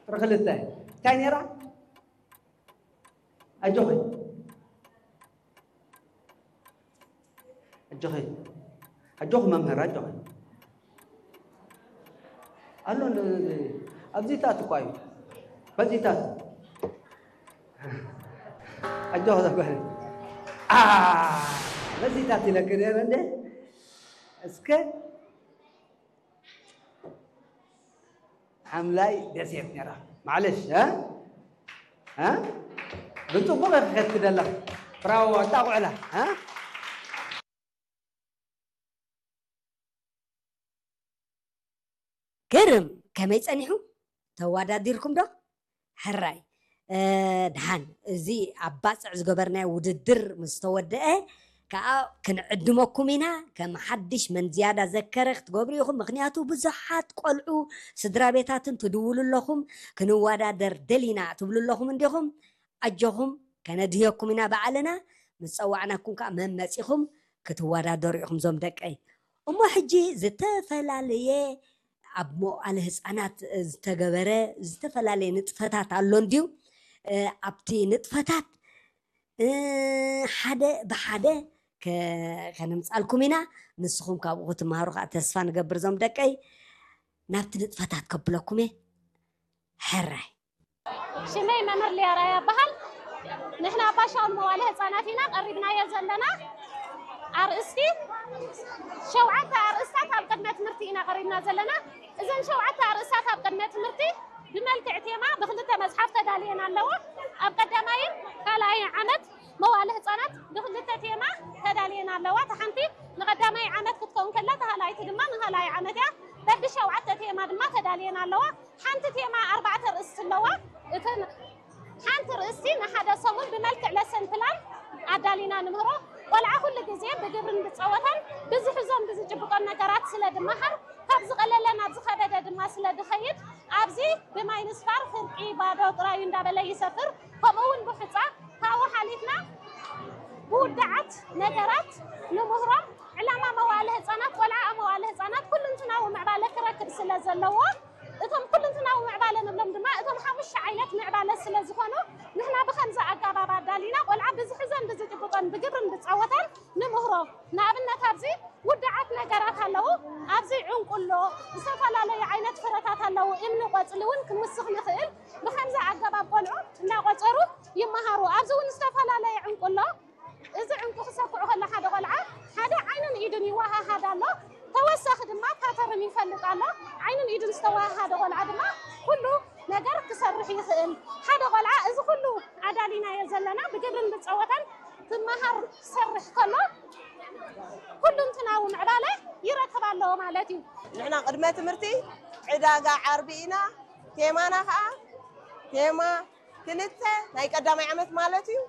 ቁፅሪ ክልተ እንታይ ነይራ? ኣጆኺ ኣጆኺ ኣጆኺ መምህር ኣጆኺ ኣሎ። ኣብዚታት እኳ እዩ በዚታት ኣጆኺ ዘጓል በዚታት ኢለክ ነረ እንደ እስከ ሓምላይ ደሴት ነራ። ማዕለሽ እ? እ? ብፅቡቕ ኢኺ ከትደለኽ። ብራዎ ኣጣቑዕላ እ? ግርም፣ ከመይ ጸኒሑ? ተወዳዲርኩም ዶ? ሕራይ። እ፣ ደሓን፣ እዚ ኣብ ባጽዕ ዝገበርናዮ ውድድር ምስ ተወደአ፣ ከኣ ክንዕድመኩም ኢና። ከም ሓድሽ መን ዝያዳ ዘከረ ክትገብሩ ኢኹም። ምኽንያቱ ብዙሓት ቆልዑ፣ ስድራ ቤታትን ትድውሉ ኣለኹም፣ "ክንወዳደር ደሊና" ትብሉ ኣለኹም እንዲኹም። ኣጆኹም፣ ከነድህየኩም ኢና ባዕልና። ምስ ጸዋዕናኩም ከኣ መን መጺኹም ክትወዳደሩ ኢኹም ዞም ደቀይ። እሞ ሕጂ ዝተፈላለየ ኣብ መዋእለ ህጻናት ዝተገበረ ዝተፈላለየ ንጥፈታት ኣሎ እንድዩ። እ፣ ኣብቲ ንጥፈታት፣ እ፣ ሓደ ብሓደ ከ-፣ ከነምጻልኩም ኢና። ንስኹም ካብኡ ክትመሃሩ ከኣ ተስፋ ንገብር ዞም ደቀይ። ናብቲ ንጥፈታት ከብለኩም እየ። ሕራይ። ሽመይ መምህር ሊያ ራያ ይበሃል። ንሕና ኣብ ባሻውን መዋለ ህጻናት ኢና ቀሪብናዮ ዘለና። ኣርእስቲ፣ ሸውዓተ ኣርእስታት ኣብ ቅድመ ትምህርቲ ኢና ቀሪብና ዘለና። እዘን ሸውዓተ ኣርእስታት ኣብ ቅድመ ትምህርቲ ብመልክዕ ቴማ ብክልተ መጽሓፍ ተዳልየን ኣለዎ። ኣብ ቀዳማይን ካልኣይ ዓመት መዋለ ህጻናት ብክልተ ቴማ ተዳልየን ኣለዋ። እታ ሓንቲ ንቀዳማይ ዓመት ክትከውን ከላ፣ እታ ካልኣይቲ ድማ ንካልኣይ ዓመት እያ። በብሸውዓተ ቴማ ድማ ተዳልየን ኣለዋ። ሓንቲ ቴማ ኣርባዕተ ርእስቲ ኣለዋ። እተን ሓንቲ ርእስቲ ንሓደ ሰሙን ብመልክዕ ለሰን ፕላን ኣዳሊና ንምህሮ። ቆልዓ ኩሉ ግዜ ብግብርን ብጸወታን ብዝሕዞን ብዝጭብጦን ነገራት ስለ ድመሃር፣ ካብ ዝቐለለ ናብ ዝኸበደ ድማ ስለ ድኸይድ፣ ኣብዚ ብማይንስፋር ፍርቂ ባዶ ጥራዩ እንዳበለ ይሰፍር። ከምኡ እውን ብሑጻ ካብኡ ሓሊፍና ብውድዓት ነገራት ንምህሮም። ዕላማ መዋእለ ህጻናት፣ ቆልዓ ኣብ መዋእለ ህጻናት ኩልንትናዊ ምዕባለ ክረክብ ስለ ዘለዎ፣ እቶም ኩልንትናዊ ምዕባለ ንብሎም ድማ እቶም ሓሙሽተ ዓይነት ምዕባለ ስለ ዝኾኑ፣ ንሕና ብኸምዚ ኣገባብ ኣዳሊና ቆልዓ ብዝሕዞን ብዝጭብጦን ብግብርን ብጸወታን ንምህሮ። ንኣብነት ኣብዚ ውድዓት ነገራት ኣለዉ። ኣብዚ ዕንቁሎ፣ ዝተፈላለዩ ዓይነት ፍረታት ኣለዉ። እምኒ፣ ቆጽሊ እውን ክንውስኽ ንኽእል። ብኸምዚ ኣገባብ ቆልዑ እናቆጸሩ ይመሃሩ። ኣብዚ እውን ዝተፈላለየ ዕንቁሎ፣ እዚ ዕንቁ ክሰክዑ ከሎ ሓደ ቆልዓ ሓደ ዓይኑን ኢዱን ይወሃሃድ ኣሎ። ተወሳኺ ድማ ፓተርን ይፈልጥ ኣሎ። ዓይኑን ኢዱን ዝተወሃሃደ ቆልዓ ድማ ኩሉ ነገር ክሰርሕ ይኽእል። ሓደ ቆልዓ እዚ ኩሉ ኣዳሊናዮ ዘለና ብግብርን ብጸወታን ክመሃር ክሰርሕ ከሎ ኩሉንትናዊ ምዕባለ ይረክብ ኣሎ ማለት እዩ። ንሕና ቅድመ ትምህርቲ ዕዳጋ ዓርቢ ኢና። ቴማና ኸዓ ቴማ ክልተ ናይ ቀዳማይ ዓመት ማለት እዩ።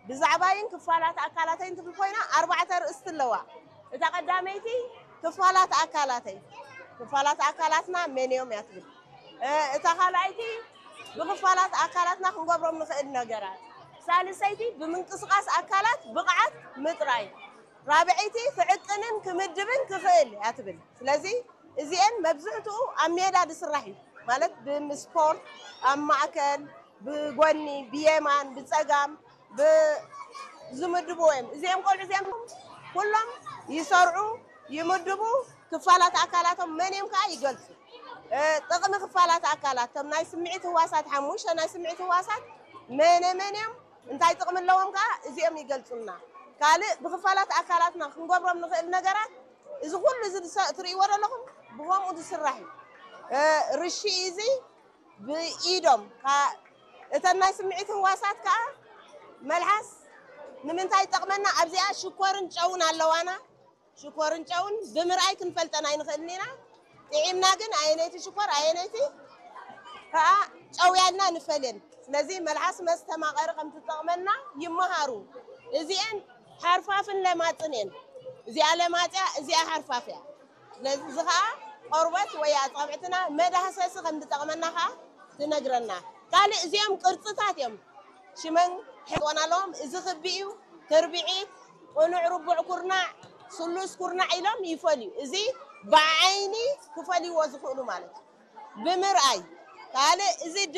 ብዛዕባይን ክፋላት ኣካላተይን ትብል ኮይና ኣርባዕተ ርእስቲ ኣለዋ። እታ ቀዳመይቲ ክፋላት ኣካላተይ፣ ክፋላት ኣካላትና መን እዮም እያ ትብል። እ፣ እታ ካልኣይቲ ብክፋላት ኣካላትና ክንገብሮም ንኽእል ነገራት፣ ሳልሰይቲ ብምንቅስቓስ ኣካላት ብቕዓት ምጥራይ፣ ራብዐይቲ ክዕቅንን ክምድብን ክኽእል እያ ትብል። ስለዚ እዚኤን መብዝሕትኡ ኣብ ሜዳ ዝስራሕ እዩ። ማለት ብስፖርት ኣብ ማእከል፣ ብጎኒ፣ ብየማን፣ ብጸጋም፣ ብ-፣ ዝምድቡ እዮም። እዚኦም ቆልዑ እዚኦም ኩሎም ይሰርዑ፣ ይምድቡ፣ ክፋላት ኣካላቶም መን እዮም ከኣ ይገልጹ። እ፣ ጥቕሚ ክፋላት ኣካላት፣ እቶም ናይ ስምዒት ህዋሳት፣ ሓሙሽተ ናይ ስምዒት ህዋሳት መነ መን እዮም፣ እንታይ ጥቕሚ ኣለዎም ከኣ እዚኦም ይገልጹልና። ካልእ ብክፋላት ኣካላትና ክንገብሮም ንኽእል ነገራት፣ እዚ ኩሉ እዚ ዝሰ-፣ ትርእይዎ ዘለኹም ብኸምኡ ዝስራሕ እዩ። እ፣ ርሺ እዚ ብኢዶም፣ ካ-፣ እተን ናይ ስምዒት ህዋሳት ከኣ መልሓስ ንምንታይ ይጠቕመና? ኣብዚኣ ሽኮርን ጨውን ኣለዋና። ሽኮርን ጨውን ብምርኣይ ክንፈልጠን ኣይንኽእልን ኢና። ጥዒምና ግን ኣየነይቲ ሽኮር፣ ኣየነይቲ ከኣ ጨው ያልና ንፈልየን። ስለዚ መልሓስ መስተማቐሪ ከም ትጠቕመና ይመሃሩ። እዚኤን ሓርፋፍን ለማጽን እየን። እዚኣ ለማጽያ፣ እዚኣ ሓርፋፍ እያ። ስለዚ እዚ ኸኣ ቆርበት ወይ ኣጻብዕትና መዳህሰሲ ከም ዝጠቕመና ኸኣ ትነግረና። ካልእ እዚኦም ቅርጽታት እዮም። ሽመን ሕጥወን ኣለዎም። እዚ ክቢ እዩ፣ ትርብዒት፣ ቅኑዕ ርቡዕ ኩርናዕ፣ ስሉስ ኩርናዕ ኢሎም ይፈልዩ። እዚ ብዓይኒ ክፈልይዎ ዝኽእሉ ማለት እዩ። ብምርኣይ። ካልእ እዚ